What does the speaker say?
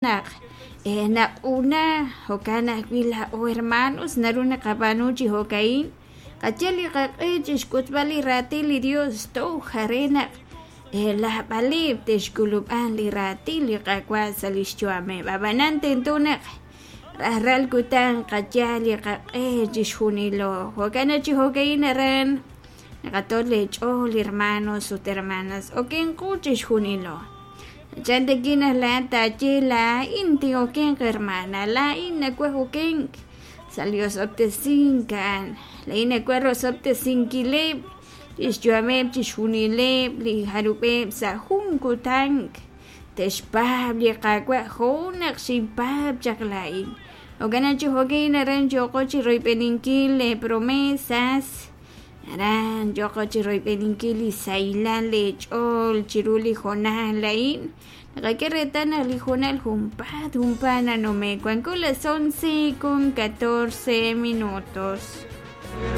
Naq naq'una jo'kan ajwi' laa'o hermanos naru naqab'aanu chi jo'ka'in, qayal li qaq'e chi xk'utb'al li raatin li Dios toj re naq lajb'aleb' te'xk'ulub'an li raatin li Qaawa' sa' li xyu'ameb'. Ab'anan tento naq rajlal kutan qayal li qaq'e chixjunilo. Jo'kan naq chi jo'ka'in aran naqato' leech'ool hermanos ut hermanas, okenqo chixjunilo. Chan takin naq laa'at taaye laa'in tin'okenq hermana, laa'in nawaj okenk sa' li osob'tesink a'an, laa'in nawaj rosob'tesinkileb' li xyu'ameb' chixjunileb' li jarub'eb' sa' jun kutan te'xpaab' li Qaawa' jo' naq xinpaab' chaq laa'in. Jo'kan naq chi jo'kin aran yooqo chi royb'eninkil lee promesas, aran yooqo chi royb'eninkil li sahilal leech'ool chiru li hoonal a'in. Naqak'e reetal naq li hoonal junpaat junpaat nanume'k, wanko las 11:14.